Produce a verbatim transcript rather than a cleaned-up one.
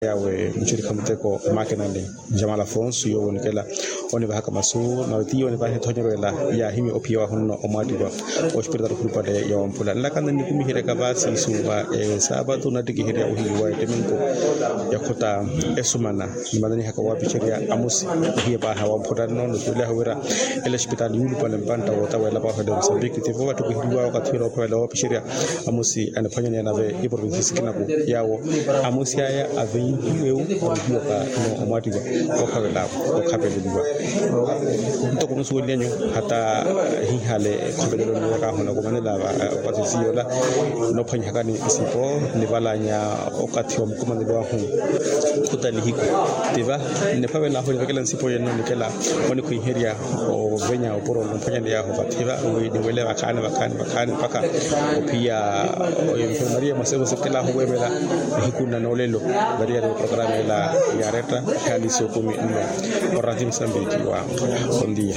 Yaawe muxirikha muteko makenani, jamal afonso yoowo onikela onivahaka masu nawe tiyo onivahaka ethonyerwela. Yaahimya ophiya wahunno omwaatiwa oxipiritaali okhulupale ya wamphula nlakana nnikumiheryaka vaasi suuva esaapatu nattikiherya ohiliwa eteminko, yakhuta esumana nimananihaka waapixerya amusi ohiye paaha wamphula nno nottuwelyahu wira ela oxipitaali yuulupale mpantta woota weela paaha wela musambiki tivo vattukiheriwaya okathi wela ophavela waapixerya amusi aniphwanyaneya nave iprovinsi sikinaku yaawo amusi aya avenhiwe-u ohiyoka no omwaatiwa okhavela okhapeleliwa. Ntoko musuweliyanyu hata hihale ekhovelelo niyo kaahona kumanela opasisiyola nophwanyihakani nsipo nivalanya okathi wa mukumanelo ahu khuta nihiku tiva niphavela ahu nivekela nsipo yenno nikela onikhwiherya ovenya opuro nomphwanyani yahu vathi va wi niwele vakhaani vakhaani vakhaani mpakha ophiya enfermaria mwasevo sikela ahu wevela nihiku nna noolelo variyari oprograma ela yaretta hali sokumi nno. Orati musambiki wa ondia.